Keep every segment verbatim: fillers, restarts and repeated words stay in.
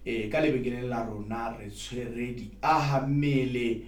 E ka lebenkeleng la rona re tshwere diahammele,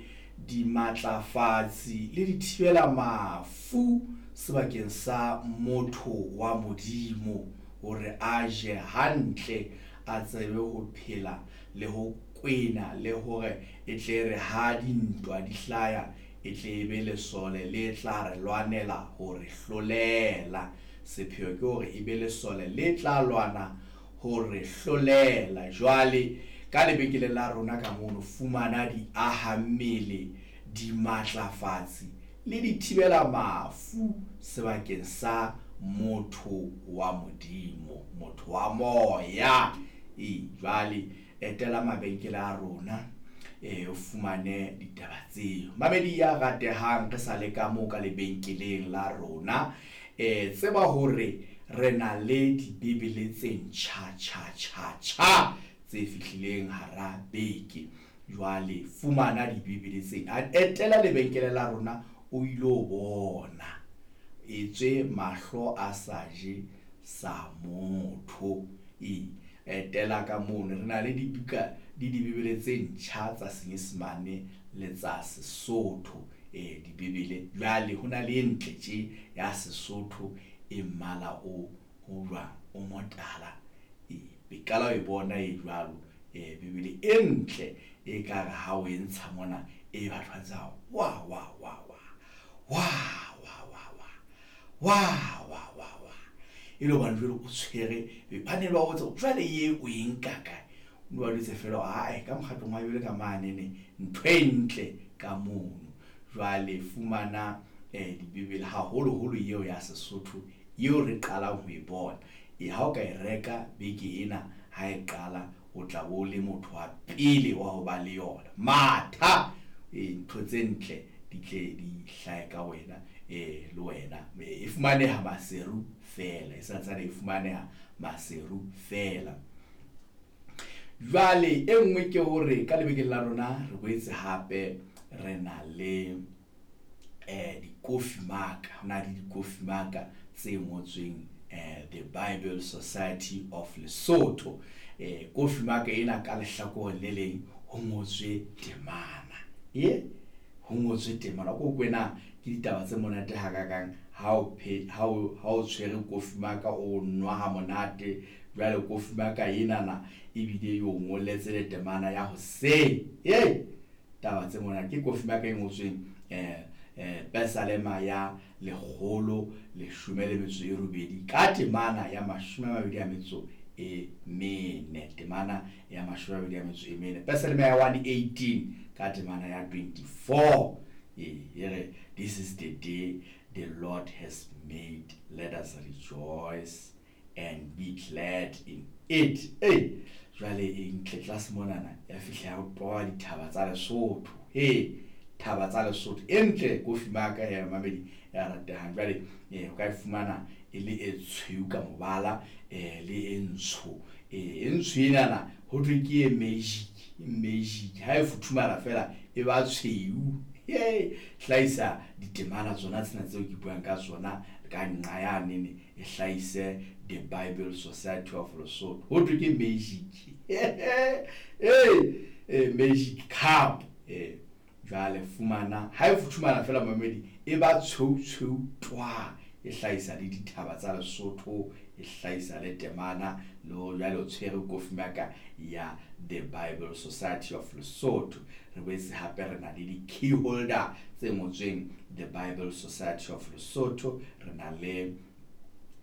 dimatlafatsi le dithibela mafu sebakeng sa motho wa Modimo hore a je hantle, a tsebe ho phela le ho kwena, le hore e tle re ha dintwa di hlaya, e tle e be lesole le tla re lwanela ho re hlolela. Sepheo ke hore e be lesole le tla lwana ho re hlolela. Jwale ka lebenkeleng la rona ka mono fumana diahammele, dimatlafatsi le dithibela mafu sebakeng sa motho wa Modimo, motho wa moya. E jwale etela mabenkele a rona, e o fumane ditaba tseo. Mamedi ya ratehang, re sa le ka moo ka lebenkeleng la rona, e tseba hore re na le dibebele tse ntjha tjha tjha tjha tse fihlileng hara beke. Jwale fumana dibebele tsena, etela lebenkele la rona o ilo bona, etswe mahlo a sa je sa motho. E etela ka mono, re na le dibuka le dibebele tse ntjha tsa Senyesemane le tsa Sesotho. E dibebele jwale ho na le e ntle tje ya Sesotho e mmala o o jwang, o motala. E be qala ho e bona e jwalo, e bebele e ntle e ka re ha o e ntsha mona, e batho ba tsa wa wa wa wa wa wa wa wa wa wa wa wa, e le hobane jwale o tshwere ba ne ba botsa jwale ye o e nka kae, o ba jwetse feela ae ka mokgatlong wa Bibele ka mane ntho e ntle ka mono. Jwale fumana eh dibebele, haholoholo eo ya Sesotho eo re qalang ho e bona. E ha o ka e reka beke ena ha e qala, o tla bo le motho wa pele wa ho ba le yona. Matha e ntho tse ntle di tle di hlahe ka wena, e le wena. E fumaneha Maseru feela, e santsane e fumaneha Maseru feela. Jwale e nngwe ke hore ka lebenkeleng la rona re boetse hape re na le eh dikofi maka, ho na le dikofi maka tse ngotsweng eh The Bible Society of Lesotho. Eh kofi maka ena ka lehlakoreng le leng ho ngotswe temana, e ho ngotswe temana ko kwena ke ditaba tse monate hakakang ha o phe ha o ha o tshwere kofi maka o nwa ha monate. Jwale kofi maka enana ebile e o ngolletse le temana ya hoseng. E taba tse monate ke kofi maka e ngotsweng eh eh Pesalema ya lekgolo leshome le metso e robedi ka temana ya mashome a mabedi a metso e mene, temana ya mashome a mabedi a metso e mene, Pesalema ya one eighteen ka temana ya twenty-four. E re, this is the day the Lord has made, let us rejoice and be glad in it. E jwale e ntle tlase monana ya fihla ya toba dithaba tsa Lesotho. He thaba tsa Lesotho e ntle kofi maka ya mamedi ya ratehang. Jwale e o ka e fumana e le e tshweu ka mobala, e le e ntsho. E e ntsho enana ho thwe ke e magic, magic ha e futhumala fela e ba tshweu. He hlahisa ditemana tsona tsena tseo ke buang ka tsona ka nqa ya nene, e hlahise The Bible Society of Lesotho. Ho thwe ke magic. Eh magic cup. Eh jwale fumana ha e futhumala fela mamedi e ba tshweu tshweu twa, e hlahisa le dithaba tsa Lesotho, e hlahisa le temana le hore jwale o tshwere kofi maka ya The Bible Society of Lesotho. Re boetse hape re na le di-key holder tse ngotsweng The Bible Society of Lesotho. Re na le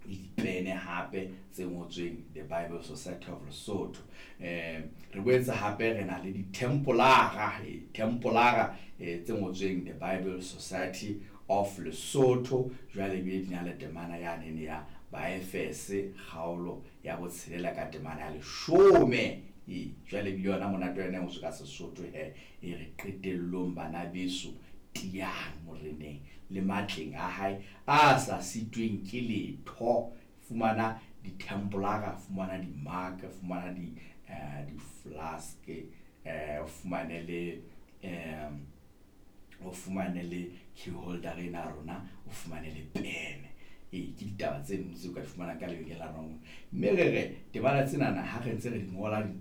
dipene hape tse ngotsweng The Bible Society of Lesotho. Eh re boetse hape re na le di-tempolara, tempolara tse ngotsweng The Bible Society of Lesotho. Jwale ebile di na le temana ya nene ya Baefese kgaolo ya botshelela ka temana ya leshome. E jwale ebile yona monate wa yona e ngotswe ka Sesotho he, e re qetellong bana beso tiyang moreneng le matleng a hae a sa sitweng ke letho. Fumana di-tempolara, fumana di-mark, fumana di eh di-flask, eh o fumane le eh o fumane le key holder ena ya rona, o fumane le pene. E ke ditaba tse nngwe tseo ka di fumanang ka lebenkeleng la rona. Mme re re temana tsenana ha re ntse re di ngola di